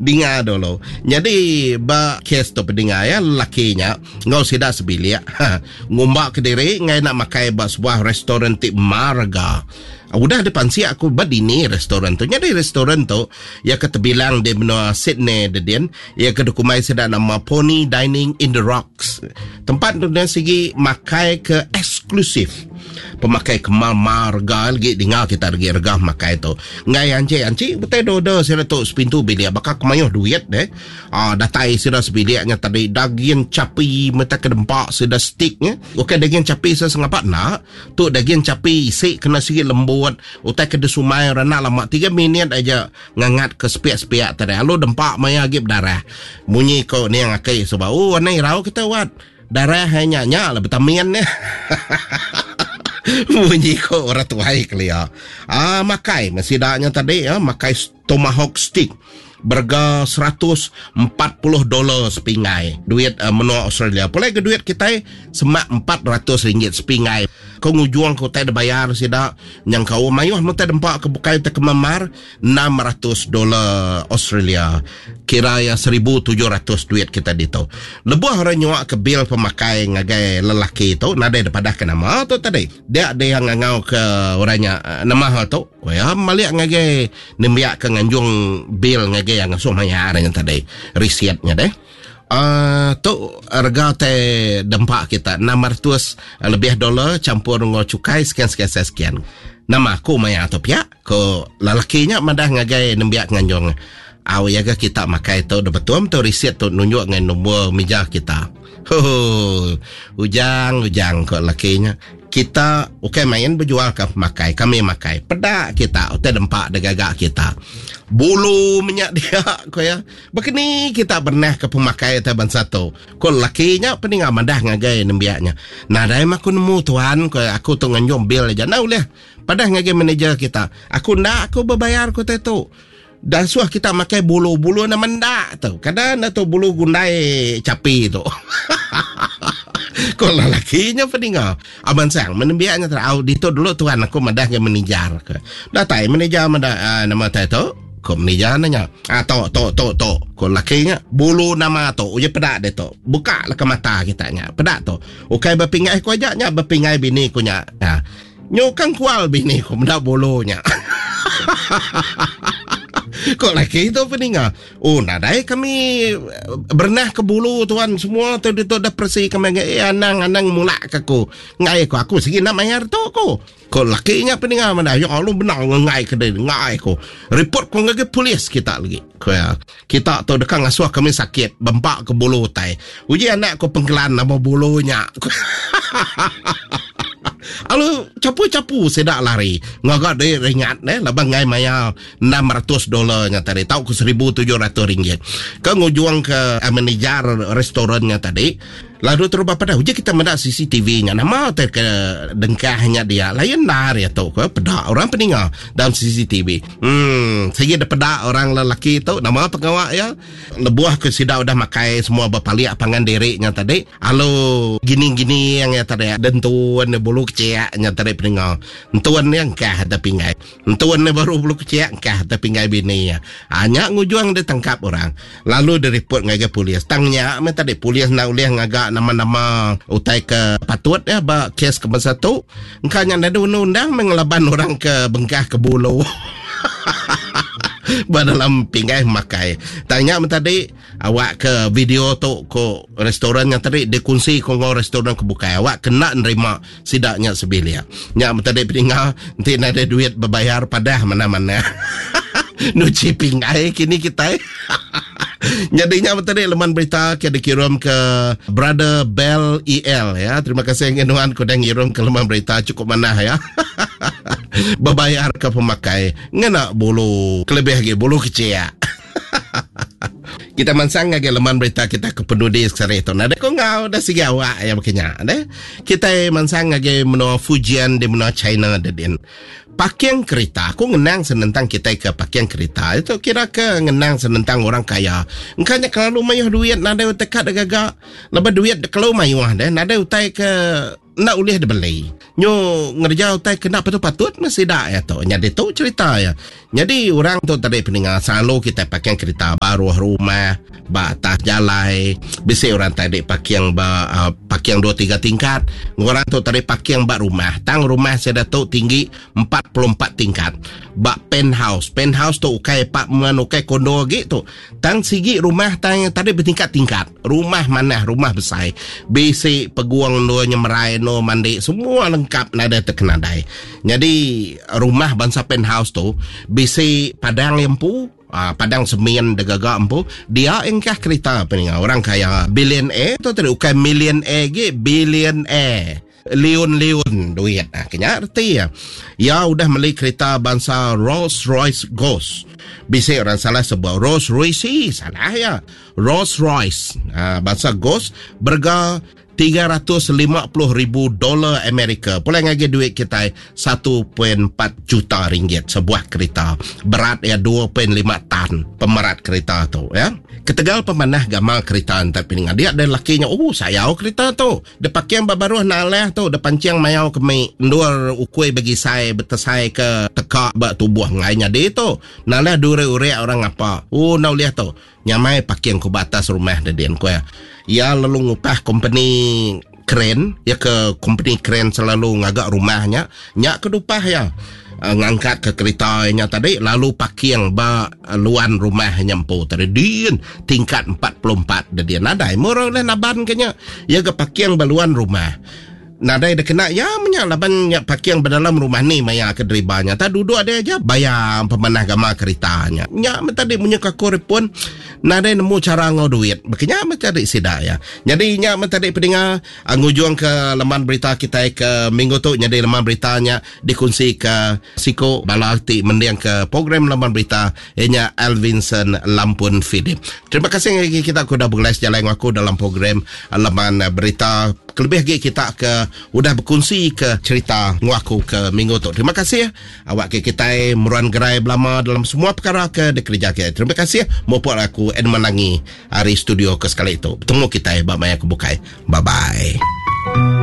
Dinga dulu. Nyadi ba kes tu pedinga ya lelaki nya enggau sida sebilik ha, ngumba kediri enggai enda makai ba sebuah restoran ti mar rega. Udah dipansik aku ba dini restoran tu. Nyadi restoran tu iya ke tebilang di menua Sydney dedin, iya ke dikumbai sida nama Pony Dining in the Rocks. Tempat tu nya sigi makai ke eksklusif. Pemakai ke mar-mar rega lagi dinga kita lagi rega makai tu. Enggai anchi anchi betai do order sida tu sepintu bilik baka ke mayuh duit deh. Ah datai sida sebilik nya tadi daging chapi meta ke dempa sida steak nya. Ukai daging chapi sida sengapa enda. Tu daging chapi isi kena sigi lembut utai ke disumai orang enda lama tiga minit aja ngangat ke sepiak-sepiak tadi alu dempa maya agi bedarah. Munyi ko niang aki suba ooh anang irau kita wat. Darah ai nya nya lah betamin nya. Munyi ko orang tuai kelia. Ah makai meh sida nya tadi ah makai tomahawk steak berega 140 dolar sepinggai duit uh, menua Australia. Pulai ke duit kitai semak 400 ringgit sepinggai. Ko ngujung ke utai dibayar sida nyangkau mayuh meh utai dempa ke bukai utai ke memar 600 dolar Australia kira iya 1700 duit kita ditu. Lebuh orang nyua ke bil pemakai ngagai lelaki tu nadai dipadah ke nama tu tadi. Dia dia ngangau ke orang nya eh, nama hal tu. Ko iya malik ngagai nembiak ke nganjung bil ngagai yang ngasuh mayar nya tadi. Receipt nya deh. Uh, tu rega te dempa kita 600 lebih dolar campur enggau cukai sekian sekian sekian. Nama aku maya tu pia. Ko lelaki nya madah ngagai nembiak nganjung, Au iya ga kita makai tu dah betul tu risit tu nunjuk ngagai nombor mija kita. Huhu. Ujang ujang ko lelaki nya. Kita ukai main bejual ka pemakai, kami makai. Peda kita utai dempa da gaga kita. Bulu menya dia ko iya. Baka ni kita bernah ka pemakai utai bansa tu? Ko lelaki nya peninga madah ngagai nembiak nya. Nadai meh aku nemu tuan ko iya, aku tu nganjung bil aja. Enda ulih. Padah ngagai manager kita, aku enda aku bebayar ke utai tu. Dah suah kita makai bulu, bulu nama enda tu. Kada enda tu bulu gundai chapi tu. Ko lelaki nya peninga. Abang Sang, menembiak nya terau ditu dulu tuan aku madah ngagai manager ke. Datai manager madah uh, nama utai tu. Ko manager nanya. Ah tu tu tu tu. Ko lelaki nya, bulu nama tu uji peda ditu. Buka leka mata kita nya. Peda tu. Ukai bepinggai ku aja nya bepinggai bini ku nya. Ha. Nyukang kual bini ku meda bulu nya. Ko laki tu peninga. Oh nadai kami eh, berenah ke bulu tuan semua tu ditu dah persi kami ngai eh, anang anang mulak ke aku. Ngai ku aku sigi nak mayar tu ku. Ko laki nya peninga meda ya Allah benar ngai ke dia ngai ku. Report ku ngagai polis kita lagi. Ko ya. Kita tu deka ngasuh kami sakit bempa ke bulu utai. Uji anak ku pengkelan nama bulu nya. Alu capu-capu sida lari ngaga duit ringat neh laban ngai maya 600 dolar nya tadi tau ke 1700 ringgit. Ke ngujung ke eh, manager restoran nya tadi lalu terubah pada uji kita meda CCTV nya nama te ke dengkah nya dia lain nar ya tu ke peda orang peninga dalam CCTV. Hmm sigi peda orang lelaki tu nama pengawa ya Lebuh ke sida udah makai semua bepalik pangan diri nya tadi, alu gini-gini yang iya tadi dentun bulu kecik nya tadi peninga. Entun iya engkah da pinggai. Entun iya baru bulu kecik engkah da pinggai bini iya. Ha, nya ngujung ditangkap orang. Lalu diripot ngagai polis. Tang nya meh tadi polis enda ulih ngaga nama-nama utai ke patut ya ba kes ke bansa tu. Engka nya nadai undang-undang meh ngelaban orang ke bengkah ke bulu. ba dalam pinggai makai. Tang nya men tadi awak ke video tu ko restoran nya tadi dikunsi ko enggau restoran ke bukai awak kena nerima sida nya sebilik. Nya men tadi peninga enti nadai duit bebayar padah mana-mana. Nuchi pinggai kini kitai. Nyadi nya men tadi leman berita ke dikirum ke Brother Bell EL ya. Terima kasih ngan nuan ke udah ngirum ke leman berita cukup manah ya. Bebayar ke pemakai ngena bulu kelebih agi bulu kecik. Kita mansang ngagai leman berita kita ke penudi sekali tu. Nadai ko enggau dah sigi awak ya baka nya deh. Kita mansang ngagai menua Fujian di menua China dedin. Parking kerita aku ngenang senentang kita ke parking kerita itu kira ke ngenang senentang orang kaya. Engka nya kelalu mayuh duit nadai utai ka gaga. Lebuh duit kelalu mayuh deh nadai utai ke. enda ulih dibeli. Nyu ngereja utai ke enda patut-patut meh sida iya tu. Nyadi tu cherita iya. Nyadi orang tu tadi peninga selalu kitai parking kerita baruh rumah, ba atas jalai, bisi orang tadi parking ba uh, parking dua tiga tingkat. Orang tu tadi parking ba rumah. Tang rumah sida tu tinggi 44 tingkat. Ba penthouse. Penthouse tu ukai apartment, ukai kondo agi tu. Tang sigi rumah tang tadi betingkat-tingkat. Rumah manah, rumah besai. Bisi peguang endur nyemerai, endur mandi, semua lengkap nadai tekenadai. Nyadi rumah bansa penthouse tu bisi padang iya empu, ah, padang semin digaga empu, dia engkah kerita peninga orang kaya billionaire tu tadi ukai millionaire agi, billionaire. Liun-liun duit. Ah, kenya reti iya. Iya udah meli kerita bansa Rolls Royce Ghost. Bisi orang salah sebut Rolls Royce, salah iya. Rolls Royce ah, bansa Ghost berega 350 ribu dolar Amerika. Pulai ngagi duit kitai 1.4 juta ringgit sebuah kerita. Berat iya 2.5 tan pemerat kerita tu ya. Ketegal pemanah gamal kerita entai pininga dia dan lakinya oh sayau kerita tu. Depaking ba baruh nalah tu depancing mayau kemi endur ukui begisai betesai ke teka ba tubuh ngai nyadi tu. Nalah duri-urik orang ngapa. Oh enda ulih tu. Nyamai parking ku ba atas rumah dedin ku iya. Iya lalu ngupah kompeni kren, iya ke kompeni kren selalu ngaga rumah nya, nya ke dupah iya. Uh, ngangkat ke kerita nya tadi lalu parking ba luan rumah nya empu tadi din tingkat 44 dedin nadai murah oleh naban ke nya iya ke parking ba luan rumah Nadai da kena iya menya laban nya parking ba dalam rumah ni maya ke deriba nya. Tak duduk dia aja bayar pemanah gamal kerita nya. Nya meh tadi munyi ku aku repun nadai nemu chara enggau duit. Baka nya meh tadi sida iya. Nyadi nya meh tadi pedinga ngujung ke leman berita kitai ke minggu tu nyadi leman berita nya dikunsi ke siku bala ti mending ke program leman berita iya nya Alvinson Lampun Philip. Terima kasih ngagai kita ke udah begulai sejalai enggau aku dalam program leman berita. Kelebih agi kita ke udah bekunsi ke cerita enggau aku ke minggu tu. Terima kasih. Awak ke kitai meruan gerai belama dalam semua perkara ke dikereja kitai. Terima kasih. Mupuk aku Edmund Langi ari studio ke sekali tu. Betemu kitai ba maya ke bukai. Bye bye.